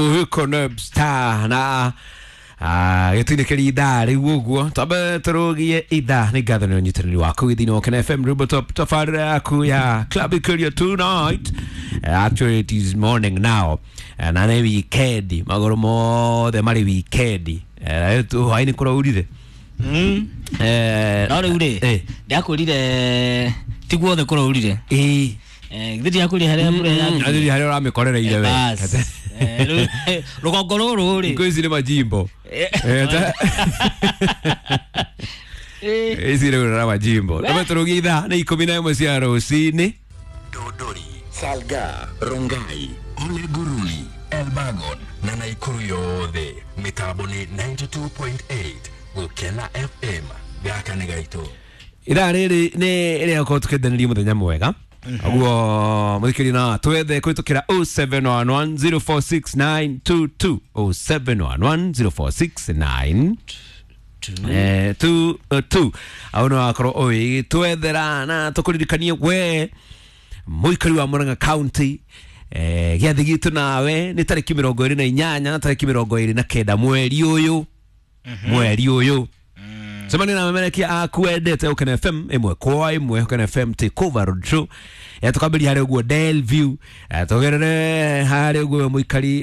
Hukonobsta na gĩtũinĩkĩria ithaa rĩu ũguo twambe tũrũgie ithaa nĩ ngatho nĩ ũnyitanĩri waku gĩthini wa Kena FM Rumba Top tabarĩra yaku ya Club Ikurio tonight. Actually it is morning now. Na nĩ weekend, magũrũ mothe marĩ weekend. Hwaĩ-inĩ kũraurire. No rĩu rĩ, ndakwĩrire ti guothe kũraurire. Ĩĩ. Githĩ ndiakwĩrire harĩa mbura yambirie? Athuri harĩa ũramĩkorereire we. Bas. Rũgongo rũrũ rĩ. Thikũ ici nĩ majimbo. Ici rĩu na majimbo. Twambe tũrũgie ithaa nĩ 11 cia rũcinĩ. Dodori, Salga, Rongai, Ole Guruli, Elbagon na Naikuru yothe mitambo ni 92.8 Gukena FM gaka nĩ gaitũ. Ithaa rĩrĩ nĩ rĩa gũkorwo tũkĩendanĩria mũthenya mwega ũguo mũthikĩria na twethe kũhĩtũkĩra 0711046922 07110469 2 au no akorwo ũgĩtwethera na tũkũririkanie we mũikari wa Murang'a County, gĩathĩ gitũ nawe nĩ tarĩki 28 na tarĩki 29 mweri ũyũ, mweri ũyũ cemania na memerekia aku wendete Ũkena FM ĩmwe kwa ĩmwe. Ũkena FM Takeover Road Show, tũkambĩria harĩa ũguo Delview, tũgerere harĩa ũguo mũikari.